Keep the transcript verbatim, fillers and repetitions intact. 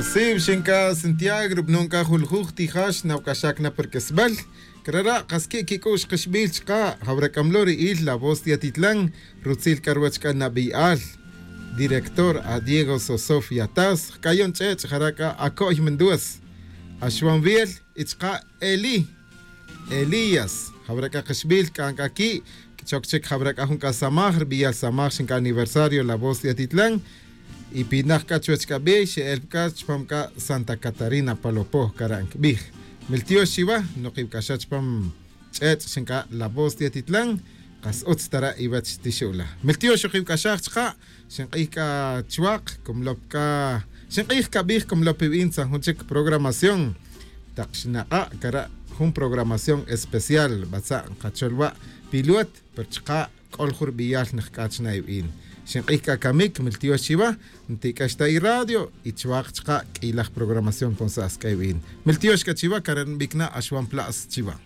Siw xinka Santiago rub'anun ka juljuj tijax nawk'axak na perk'isb'al krara' qas ki' kik'u'x qixb'il chqa jawrak'amlo ri'il La Voz de Atitlán rutzil k'arwach k'a nab'iy'al director a Diego Sosof Yataz kayon ch'ech' jaraka ako'y Menduas Axwan Viel ichqa Eli Elías jawraka qixb'il k'an k'aki' chok chik jawraka jun k'asamaj rb'iyal samaj xinka aniversario La Voz de Atitlán y pinaj ka chuwach k'ab'ey xe'el ka chpam ka Santa Catarina Palopoj karan kb'ij miltiox chiwa noqib k'axa chpam ch'ech' xinka La Voz de Atitlán qas utz tara iwach tixula miltiox uqib k'axaj chqa xinq'ij ka chwaq kumlop ka xinq'ij kab'ij kumlop ib'in san jun chik programación taq xnaqa' kara jun programación especial batza' qacholwa piluat per chqa k'ol jurb'iyal nijk'ach na ib'in xinq'ij ka kamik miltiox chiwa ntik'axta i radio y chwaq chqa k'ilaj programación ponsas k'ayb'in miltiox ka chiwa karen b'ikna axwan plas chiwa.